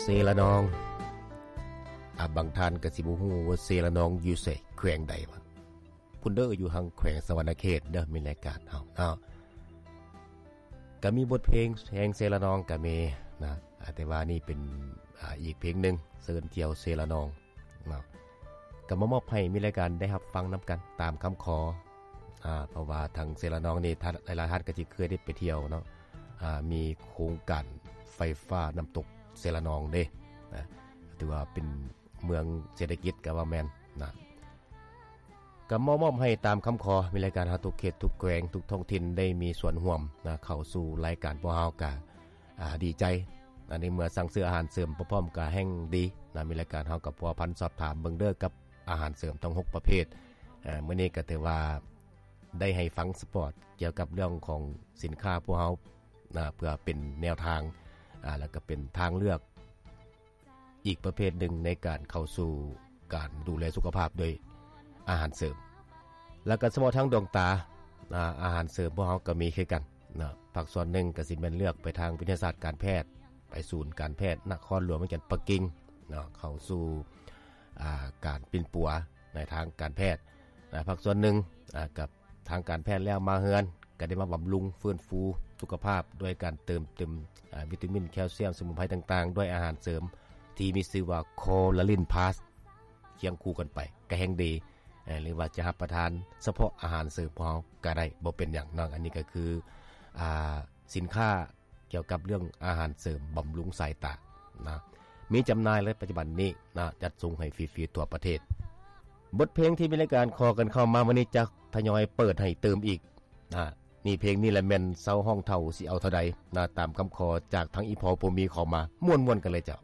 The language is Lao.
ເຊລະນອງ ອາ ບາງທ່ານກໍຊິບໍ່ຮູ້ວ່າເຊລະນອງຢູ່ໃສ ແຂວງໃດວະ? ພຸ້ນເດີ ຢູ່ທາງແຂວງສະຫວັນນະເຂດເດີ ມີລາຍການເຮົາເນາະ. ກໍມີບົດເພງແຫ່ງເຊລະນອງກໍມີນະ ອາ ແຕ່ວ່ານີ້ເປັນ ອາ ອີກເພງໜຶ່ງ ເຊີນທ່ຽວເຊລະນອງເນາະ ກໍມາມອບໃຫ້ມີລາຍການໄດ້ຮັບຟັງນຳກັນຕາມຄຳຂໍ ອາ ເພາະວ່າທາງເຊລະນອງນີ້ ທ່ານ ຫຼາຍໆທ່ານກໍຊິເຄີຍໄດ້ໄປທ່ຽວເນາະ ອາ ມີໂຄງການໄຟຟ້ານ້ຳຕົກເຊລະນອງເດ້ນະ ຖືວ່າເປັນເມືອງເສດຖະກິດກໍວ່າແມ່ນນະ. ກໍມາມອບໃຫ້ຕາມຄຳຂໍ ມີລາຍການເຮົາທຸກເຂດທຸກແຂວງທຸກທ້ອງຖິ່ນໄດ້ມີສ່ວນຮ່ວມນະ ເຂົ້າສູ່ລາຍການພວກເຮົາກະ ອາ ດີໃຈ ອັນນີ້ເມື່ອສັ່ງຊື້ອາຫານເສີມພ້ອມໆ ກະແຮ່ງດີນະ ມີລາຍການເຮົາກໍພົວພັນສອບຖາມເບິ່ງເດີກັບອາຫານເສີມທັງຫົກປະເພດ. ອາ ມື້ນີ້ກໍຖືວ່າໄດ້ໃຫ້ຟັງສະປອດກ່ຽວກັບເລື່ອງຂອງສິນຄ້າພວກເຮົານະ ເພື່ອເປັນແນວທາງ ອາ ແລ້ວກໍເປັນທາງເລືອກ ອີກປະເພດໜຶ່ງໃນການເຂົ້າສູ່ການດູແລສຸຂະພາບໂດຍອາຫານເສີມ. ແລ້ວກໍສະເພາະທາງດວງຕາ ອາ ອາຫານເສີມພວກເຮົາກໍມີຄືກັນເນາະ ພາກສ່ວນໜຶ່ງກໍຊິແມ່ນເລືອກໄປທາງວິທະຍາສາດການແພດ ໄປສູນການແພດນະຄອນຫຼວງວຽງຈັນປັກກິ່ງເນາະ ເຂົ້າສູ່ ອາ ການປິ່ນປົວໃນທາງການແພດນະ ພາກສ່ວນໜຶ່ງ ອາ ກັບ ທາງການແພດແລ້ວມາເຮືອນ ກໍໄດ້ມາບຳລຸງຟື້ນຟູສຸຂະພາບດ້ວຍການເຕີມເຕັມ ອາ ວິຕາມິນ ແຄລຊຽມ ສະໝຸນໄພຕ່າງໆ ດ້ວຍອາຫານເສີມທີ່ມີຊື່ວ່າ Collagen Plus ຄຽງຄູ່ກັນໄປກໍແຮ່ງດີ ເອີ ຫຼືວ່າຈະຮັບປະທານສະເພາະອາຫານເສີມຂອງເຮົາກໍໄດ້ ບໍ່ເປັນຫຍັງເນາະ. ອັນນີ້ກໍຄື ອາ ສິນຄ້າ ກ່ຽວກັບເລື່ອງອາຫານເສີມບຳລຸງສາຍຕານະ ມີຈຳໜ່າຍແລ້ວປັດຈຸບັນນີ້ນະ ຈັດສົ່ງໃຫ້ຟຣີໆທົ່ວປະເທດ. ບົດເພງທີ່ມີລາຍການຂໍກັນເຂົ້າມາມື້ນີ້ ຈະທະຍອຍເປີດໃຫ້ຕື່ມອີກນະ ນີ້ເພງນີ້ແຫຼະແມ່ນເຊົາຮ້ອງເຖົ້າຊິເອົາເທົ່າໃດນະ ຕາມຄຳຂໍຈາກທາງອີ່ພໍ່ຜູ້ມີເຂົ້າມາ ມ່ວນໆກັນເລີຍເຈົ້າ.